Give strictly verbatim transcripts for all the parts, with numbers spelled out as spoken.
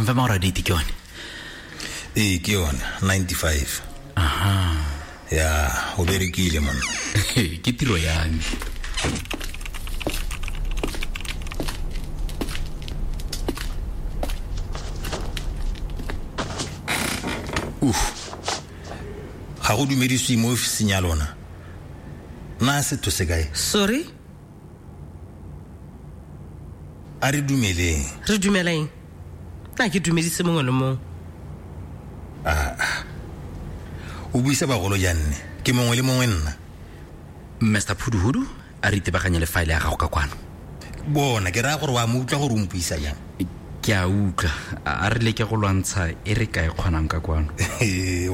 Confirm gore date ke yone. Ee, ke yone, ninety-five. Aha. Ya, o berekile monna. Ke tiro ya me. Uf. Ga go dumedisiwe mo ofising ya lona. Na setho se kae? Sorry? A re dumeleng. Re dumela eng? Nna ke dumedise mongwe le mongwe. Ah. O buisa bagolo janne. Ke mongwe le mongwe nna. Mister Phuduhudu, a re itebaganye le file ya gago ka kwano. Bona, ke raya gore wa mo utlwa gore o mpuisa jang. Ke a utlwa. A re leke go lwantsha e re ka e kgonang ka kwano.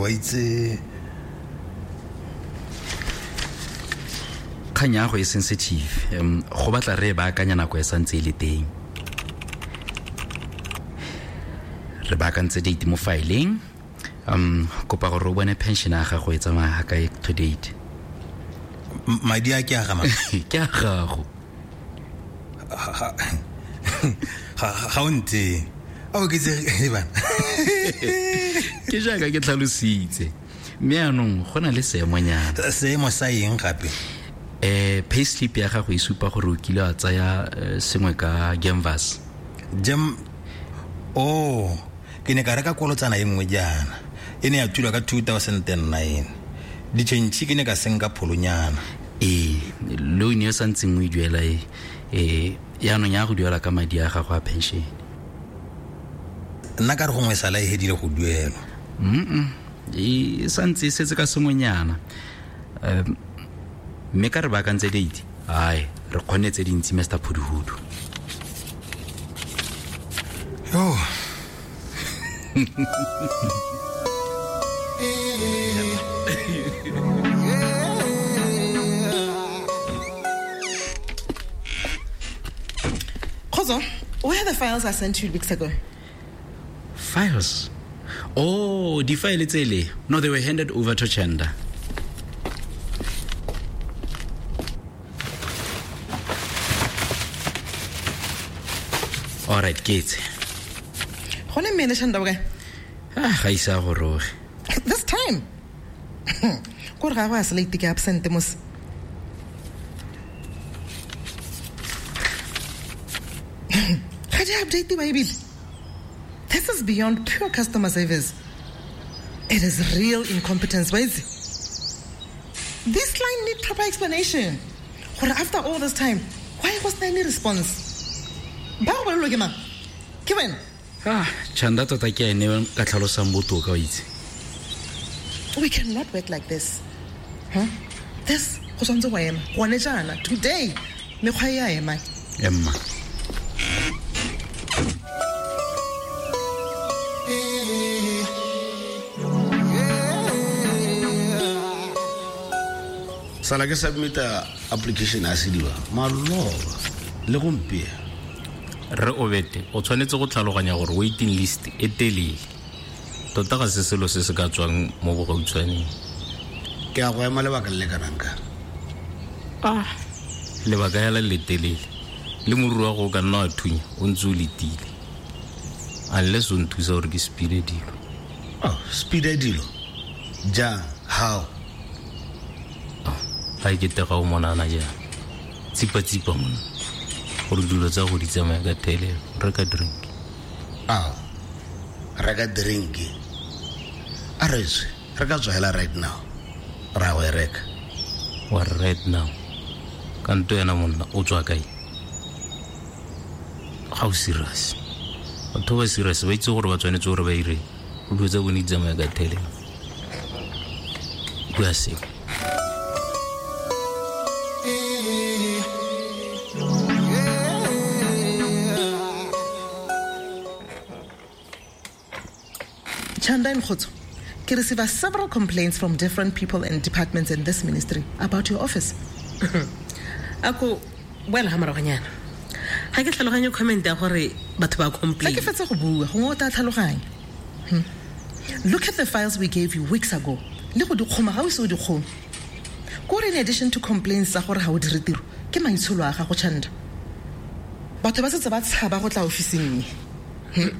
Wa itse. Kgang ya go e sensitive. Um, go batla re e baakanya nako e santse e le teng. Re baakantse date mo fileng. Um, kopa gore o bone pension ya gago e tsamaya ga kae to date. Madi a ke a ga mang? Ke a gago. Ga ga o ntse. A o ketse bana. Ke jaaka ke tlhalositse. Mme yaanong go na le seemonyana. Seemo sa eng gape? Eh, payslip ya gago e supa gore o kile wa tsaya sengwe ka Gemvas. Gem Oh, ke ne ka reka kolotsana e nngwe jaana. E ne ya thulwa ka two thousand nine. Ditšhentšhi ke ne ka senka pholonyana. Ee, loan e sa ntseng o e duela e eh yaanong ya go duela ka madi a gago a pension. Nna ka re gongwe sala e hedile go duelwa. Mm. E santse e setse ka sengwenyana. Um mme ka re baakantse date. Ai, re kgonne tse dintsi Mister Phuduhudu. Yo. Khozo, where are the files I sent you weeks ago? Files? Oh, di file tsele. No, they were handed over to Chanda. All right, Kate. Gone mme le Chanda bokae? Ah, ga isa go roge. This time. Ko re ga go a se late ke absent mos. Ga di update ba ebile. This is beyond pure customer service. It is real incompetence, wa itse. This client need proper explanation. Gore after all this time, why was there any response? Ba go bolelwa ke mang? Ke wena? Ah, Chanda tota ke ene ka tlhalosang botoka wa itse. We cannot work like this. Huh? This go tshwanetse go ema. Gone jaana today mekgwa e a ema. Emma. Sala ke submita application a sediba maloba le gompieno. Re obete o tshwanetse go tlhaloganya gore waiting list e telele. Tota ga se selo se se ka tswang mo bogautshwaneng. Ke a go ema lebaka le le kanang ka. Ah, lebaka ya le le telele. Le moruru wa go ka nna wa thunya o ntse o letile. Unless o nthusa gore ke speede dilo. Oh, speede dilo? Jang? How? Ga e kete ga o monana jang. Tsipa-tsipa monna. Gore dilo tsa go di tsamaya ka thelelo. Reka drink. Ao, reka drink. A re tswe, re ka tswa hela right now. Ra go e reka. Wa right now. Kanto yena monna o tswa kae? Ga o serious. Batho ba serious ba itse gore ba tshwanetse gore ba ire. Dilo tsa bone di tsamaya ka thelelo. Bua seo. Chanda and Khotso, ke receive several complaints from different people and departments in this ministry about your office. Ako well ha moragonyana. Ga ke tlhaloganye comment ya gore batho ba complain. Ga ke fetse go bua, gongwe o tla tlhaloganya. Hmm. Look at the files we gave you weeks ago. Le go di kgoma ga o se o di kgome. Kore in addition to complaints tsa gore ga o dire tiro, ke maitsholo a gago Chanda. Batho ba setse ba tshaba go tla ofising. Hmm.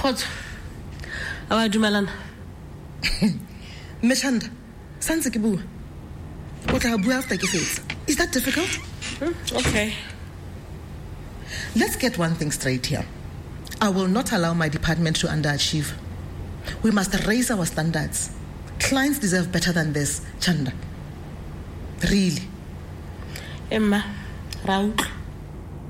Kgotso, a ba dumelana? Mme Chanda, santse ke bua. O tla bua after ke fetsa. Is that difficult? Hmm, okay. Let's get one thing straight here. I will not allow my department to underachieve. We must raise our standards. Clients deserve better than this, Chanda. Really. Emma, ra utlwa.